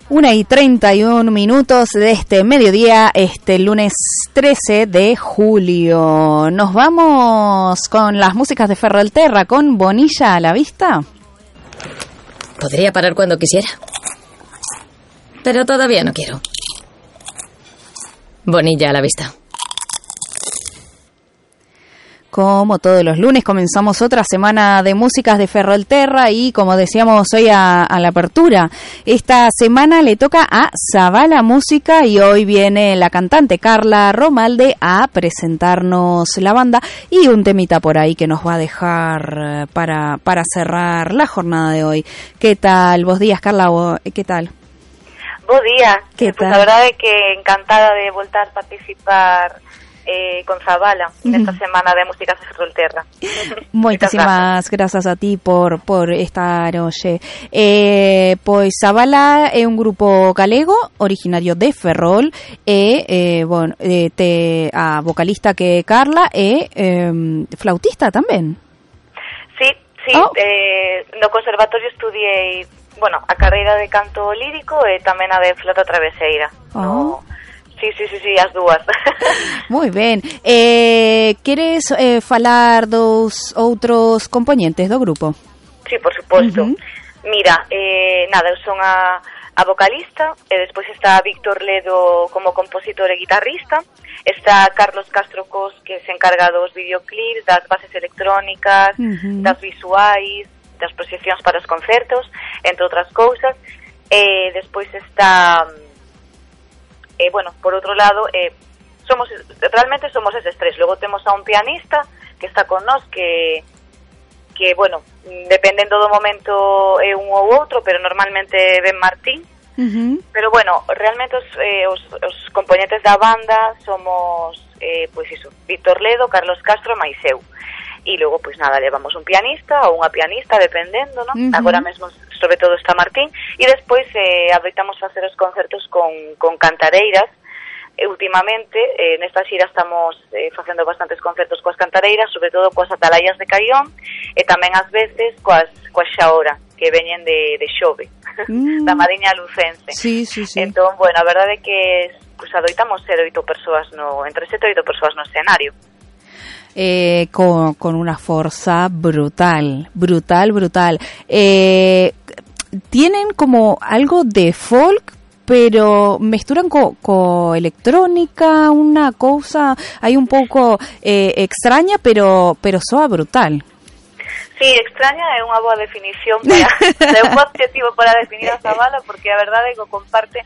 1:31 de este mediodía, este lunes 13 de julio. Nos vamos con las músicas de Ferrolterra, con Bonilla a la vista. Podría parar cuando quisiera, pero todavía no quiero. Bonilla a la vista. Como todos los lunes comenzamos otra semana de músicas de Ferrolterra y como decíamos hoy a la apertura, esta semana le toca a Zabala Música y hoy viene la cantante Carla Romalde a presentarnos la banda y un temita por ahí que nos va a dejar para cerrar la jornada de hoy. ¿Qué tal? Vos días, Carla, ¿qué tal? Bos días. ¿Qué tal? A verdade é que encantada de voltar a participar con Zabala nesta semana de músicas de Ferrolterra. Moitísimas grazas a ti por estar hoxe. Pois Zabala é un grupo galego originario de Ferrol e a vocalista que é Carla é flautista tamén. Sí, no conservatorio estudiei, a carreira de canto lírico e tamén a de flauta traveseira. Sí, as dúas. Moi ben. Queres falar dos outros componentes do grupo? Sí, por suposto. Mira, eu son a vocalista, e despois está Víctor Ledo como compositor e guitarrista, está Carlos Castro Cos, que se encarga dos videoclips, das bases electrónicas, das visuais, das proxeccións para os concertos, entre outras cousas, e despois está... por outro lado, realmente somos eses tres. Logo temos a un pianista que está con nós, que dependendo do momento é un ou outro, pero normalmente Ben Martín. Pero realmente os componentes da banda somos, Víctor Ledo, Carlos Castro e máis eu. E logo, levamos un pianista ou unha pianista, dependendo, non? Agora mesmo, sobre todo, está Martín. E despois adoitamos facer os concertos con cantareiras. Últimamente, nesta xira estamos facendo bastantes concertos coas cantareiras, sobre todo coas atalaias de Caión, e tamén ás veces coas xaora, que veñen de Xove, da Mariña Lucense. Sí. Entón, a verdade é que adoitamos ser entre 7 e 8 persoas no escenario. Con una fuerza brutal. Tienen como algo de folk, pero mezclan con electrónica, una cosa ahí un poco extraña, pero soa brutal. Sí, extraña é unha boa definición, é un objetivo para definir a Zabala, porque a verdade é que comparte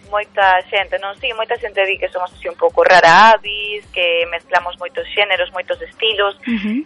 moita xente, non? Sí, moita xente di que somos así un pouco rara avis, que mezclamos moitos xéneros, moitos estilos,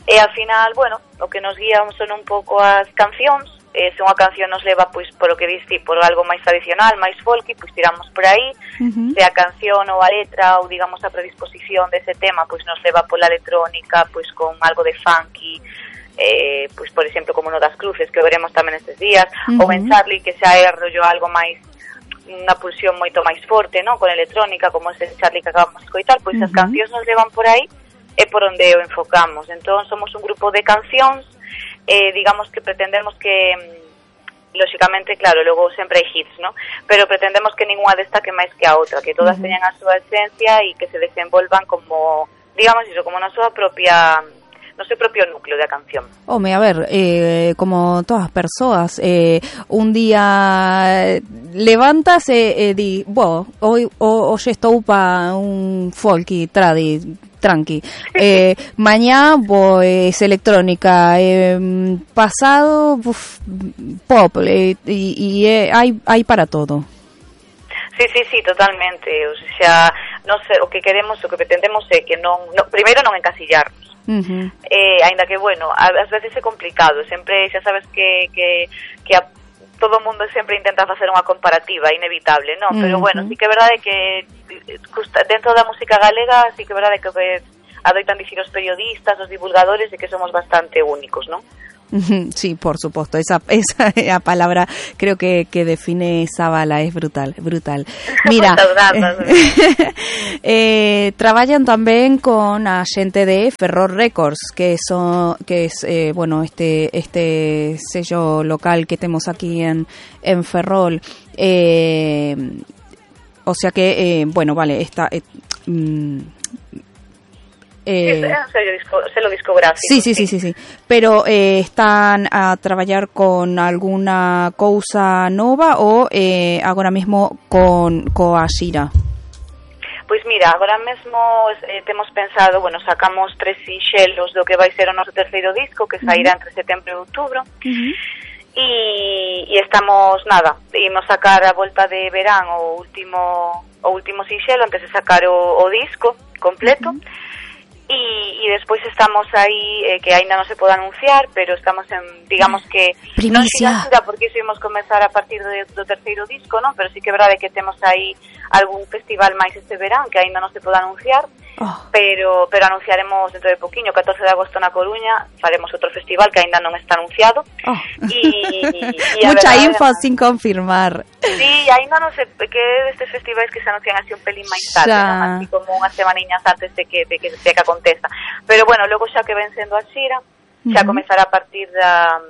e ao final, o que nos guía son un pouco as cancións. Se unha canción nos leva, pois, por o que diste, por algo máis tradicional, máis folky, pois tiramos por aí. Se a canción ou a letra, ou digamos a predisposición dese tema, pois nos leva pola electrónica, pois con algo de funky, pois por exemplo como no das Cruces, que veremos tamén estes días, ou en Charlie, que xa é rollo algo máis, unha pulsión moito máis forte, non? Con electrónica, como ese Charlie que acabamos de escoitar, pois as cancións nos levan por aí e por onde o enfocamos. Entón somos un grupo de cancións, digamos que pretendemos que, lóxicamente, claro, logo sempre hai hits, non? Pero pretendemos que ninguna destaque máis que a outra, que todas teñan a súa esencia e que se desenvolvan como, digamos iso, como na súa propia... no seu propio núcleo da canción. Home, a ver, como todas as persoas, un día levantas e di, hoxe estou pa un folky tranqui. Mañá, es electrónica. Pasado, pop. Y hay para todo. Sí, totalmente. O sea, no sé, o que queremos, o que pretendemos é que primeiro non encasillarnos. Ainda que, ás veces é complicado, sempre xa sabes que todo o mundo sempre intenta facer unha comparativa inevitable, non? Pero sí que é verdade que dentro da música galega sí que é verdade que adoitan dicir os periodistas, os divulgadores, de que somos bastante únicos, non? Sí, por supuesto, esa palabra creo que define Zabala, es brutal. Mira, trabajan también con a xente de Ferrol Records, que es bueno, este sello local que tenemos aquí en Ferrol. O sea que, bueno, vale, está... es un sello discográfico. Sí. Pero están a traballar con alguna cousa nova ou agora mesmo coa xira? Pois mira, agora mesmo temos pensado, bueno, sacamos 3 sinxelos do que vai ser o noso terceiro disco, que sairá entre setembro e outubro. E estamos, imos sacar a volta de verán o último sinxelo antes de sacar o disco completo. E despois estamos aí, que aínda non se pode anunciar, pero estamos en, digamos que primicia, non porque iso imos comenzar a partir do terceiro disco, non? Pero sí que é verdade que temos aí algún festival máis este verán que aínda non se pode anunciar, pero anunciaremos dentro de poquinho, 14 de agosto na Coruña, faremos outro festival que aínda non está anunciado. Mucha info sin confirmar. Sí, aínda non sei que destes festivais que se anuncian así un pelín máis tarde, así como unhas semaniñas antes de que aconteza. Pero bueno, logo xa que ven sendo a xira, xa comezará a partir da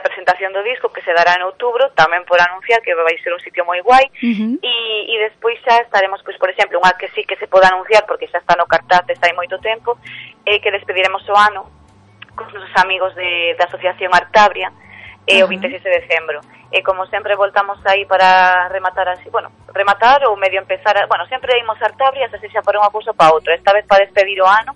presentación do disco, que se dará en outubro, tamén por anunciar, que vai ser un sitio moi guai, e despois xa estaremos, pois, por exemplo, unha que sí que se pode anunciar, porque xa está no cartaz, está aí moito tempo, que despediremos o ano cos nosos amigos da Asociación Artabria, o 26 de decembro. E como sempre voltamos aí para rematar así, bueno, rematar ou medio empezar, bueno, sempre imos a Artabria, xa sexa para unha cousa ou para outra. Esta vez para despedir o ano,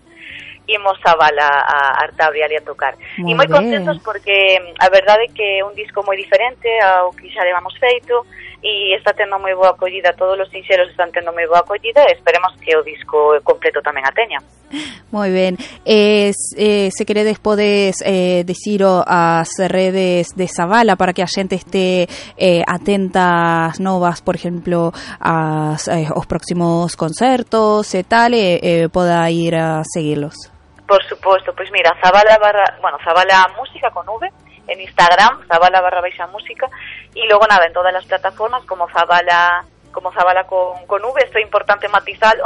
imos a Zabala a Artabria ali a tocar. E moi contentos porque a verdade é que é un disco moi diferente ao que xa levamos feito e está tendo moi boa acollida, todos os sinxelos están tendo moi boa acollida e esperemos que o disco completo tamén a teña. Moi ben. Se queredes podes diciro as redes de Zabala para que a xente este atenta ás novas, por exemplo, aos próximos concertos e tal, poda ir a seguirlos. Por suposto, pois mira, Zabala Música con V en Instagram, Zabala_música, y luego en todas las plataformas como Zabala con V. Esto é importante matizalo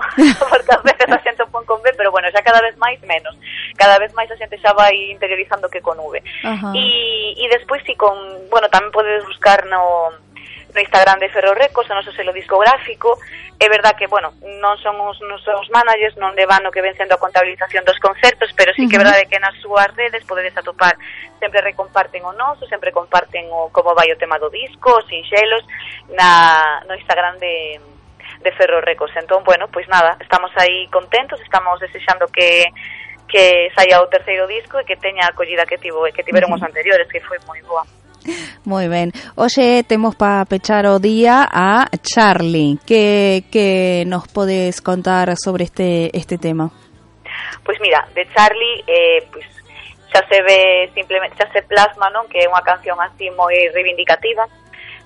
porque a veces a xente pon con V, pero bueno, xa cada vez máis menos, cada vez máis a xente xa vai interiorizando que con V. E despois tamén podes buscar no Instagram de Ferrol Records, o noso selo discográfico. É verdad que, non son os nosos managers, non levan o que ven sendo a contabilización dos concertos, pero sí que é verdade que nas súas redes podedes atopar, sempre recomparten o noso, sempre comparten como vai o tema do disco, os sinxelos, no Instagram de Ferrol Records. Entón, estamos aí contentos, estamos desexando que saia o terceiro disco e que teña a acollida que tiveron os anteriores, que foi moi boa. Moi ben. Hoxe temos para pechar o día a Charlie. Que nos podes contar sobre este tema? Pois mira, de Charlie xa se ve simplemente, xa se plasma, non, que é unha canción así moi reivindicativa,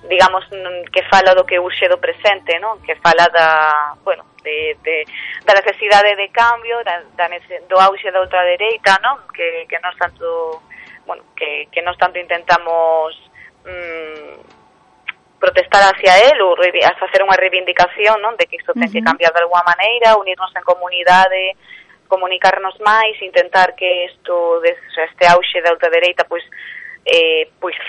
digamos, que fala do que urxe do presente, non, que fala da necesidade de cambio, do auxe da ultradereita, non, que nos tanto que nos tanto intentamos protestar hacia él ou facer unha reivindicación, non, de que isto ten que cambiar de alguma maneira, unirnos en comunidade, comunicarnos máis, intentar que este auxe da ultradereita pois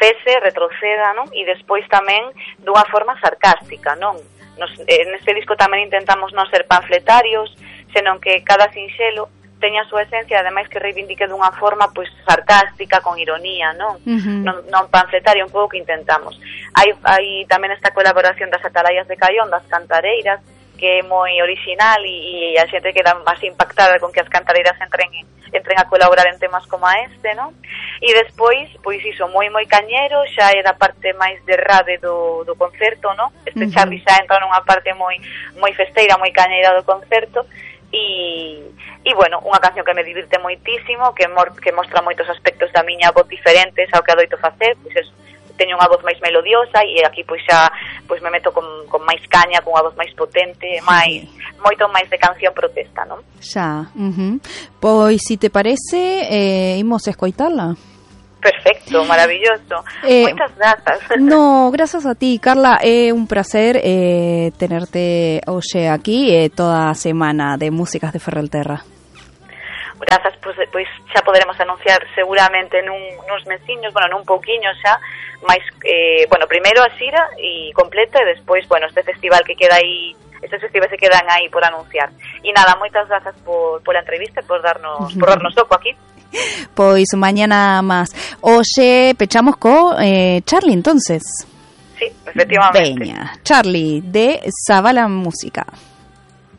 cese, retroceda, non? E despois tamén dunha forma sarcástica, non? Neste disco tamén intentamos non ser panfletarios, senón que cada sinxelo teña a súa esencia, ademais que reivindique dunha forma pois sarcástica, con ironía, non? Non panfletaria, un pouco que intentamos. Hai tamén esta colaboración das Atalayas de Caión, das cantareiras, que é moi original e a xente queda así impactada con que as cantareiras entren a colaborar en temas como este, non? E despois, pois iso, moi cañero, xa é da parte máis de rave do concerto, non? Este Charlie xa entra nunha parte moi festeira, moi cañeira do concerto. E unha canción que me divirte moitísimo, que mostra moitos aspectos da miña voz diferentes ao que adoito facer, pois eso, teño unha voz máis melodiosa e aquí pois xa me meto con máis caña, con unha voz máis potente, moito máis de canción protesta, non? Xa, Pois, si te parece, imos a escoitala. Perfecto, maravilloso. Moitas grazas. No, gracias a ti, Carla. É un placer tenerte hoxe aquí toda a semana de Músicas de Ferrolterra. Grazas, pois xa poderemos anunciar seguramente nuns mesiños, nun pouquiño xa, máis, primeiro a xira e completa e despois, este festival que queda aí, estes festivais se quedan aí por anunciar. E nada, moitas grazas pola entrevista, por darnos oco aquí. Pois mañana máis. Hoxe pechamos co Charlie, entonces. Sí, efectivamente. Veña, Charlie, de Zavala Música.